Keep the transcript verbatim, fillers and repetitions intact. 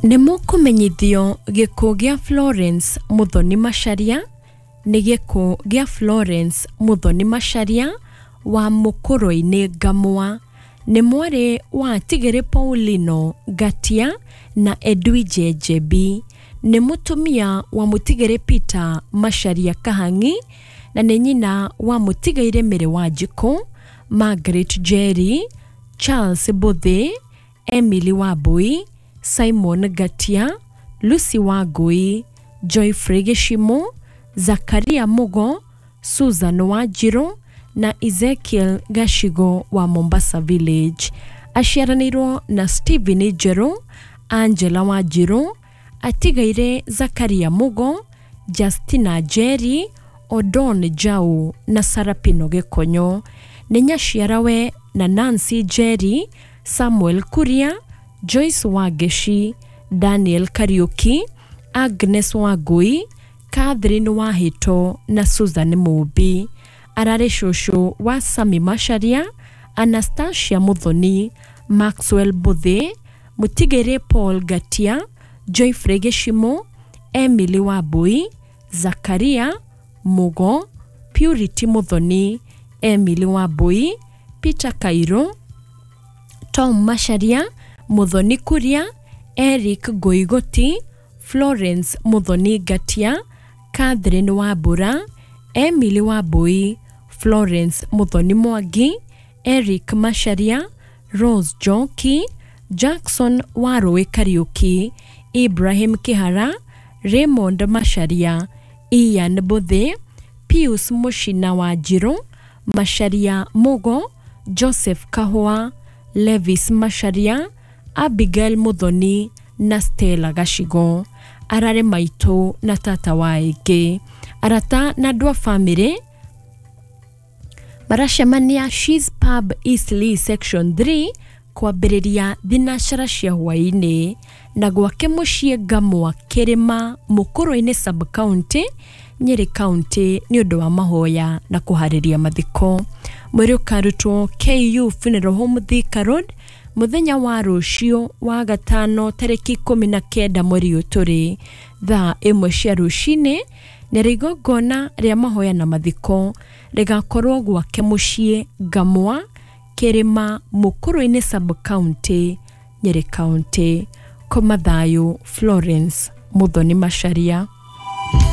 Nĩ mũkũmenyithio gĩkuũ gĩa Florence Muthoni Macharia nĩ gĩkuũ gĩa Florence Muthoni Macharia wa Mũkũrwe-inĩ Ngamwa. Nĩ mwarĩ wa Tigĩrĩ Paulino Ngatia na Edwige Njebi. Nĩ mũtumia wa Mũtigĩrĩ Peter Macharia Kahang'i na nĩ nyina wa Mũtigairĩ Mary Wanjikũ, Margaret Njeri, Charles Mbũthĩ, Emily Wambui, Simon Ngatia, Lucy Wangui, Joyfrey Gĩcimũ, Zakaria Mugo, Susan Wanjirũ na Ezekiel Gacigo wa Mombasa Village. Aciaranĩirwo na Stephen Njerũ, Angela Wanjirũ, atigaire Zakaria Mugo, Justina Njeri, Odon Njau na Sarapino Gĩkonyo. Nĩ nyaciarawe na Nancy Njeri, Samuel Kuria, Joyce Wangeci, Daniel Kariuki, Agnes Wangui, Catherine Wahĩto na Susan Mũmbi. Ararĩ cũcũ wa Sammy Macharia, Anastasia Muthoni, Maxwell Mbũthĩ, Mũtigĩrĩ Paul Ngatia, Joyfrey Gĩcimũ, Emily Wambui, Zakaria Mugo, Purity Muthoni, Emily Wambui, Peter Kairũ, Tom Macharia, Muthoni Kuria, Eric Ngoigoti, Florence Muthoni Ngatia, Catherine Wambura, Emily Wambui, Florence Muthoni Mwangi, Eric Macharia, Rose Njoki, Jackson Warũĩ Kariũki, Ibrahim Kĩhara, Raymond Macharia, Ian Mbũthĩ, Pius Mũcina Wanjirũ, Macharia Mugo, Joseph Kahũa, Levis Macharia, Abigail Muthoni na Stella Gacigo. Ararĩ maitũ na tata wa aingĩ. Arata na andũ a bamĩrĩ maracemania She's Pub Eastleigh Section three kwambĩrĩria thinacara cia hwaĩ-inĩ na gwake mũciĩ Ngamwa Kĩrĩma Mũkũrwe-inĩ Sub County, Nyĩrĩ County nĩ ũndũ wa mahoya na kũharĩria mathiko. Mwĩrĩ ũkarutwo K U Funeral Home Thika Road mũthenya wa rũciũ wa gatano tarĩki ikũmi na kenda mweri ũyũ tũrĩ thaa ĩmwe cia rũcinĩ na igongona rĩa mahoya na mathiko rĩgakorwo gwake mũciĩ Ngamwa Kĩrĩma Mũkũrwe-inĩ Sub County, Nyĩrĩ County. Koma thayũ Florence Muthoni Macharia.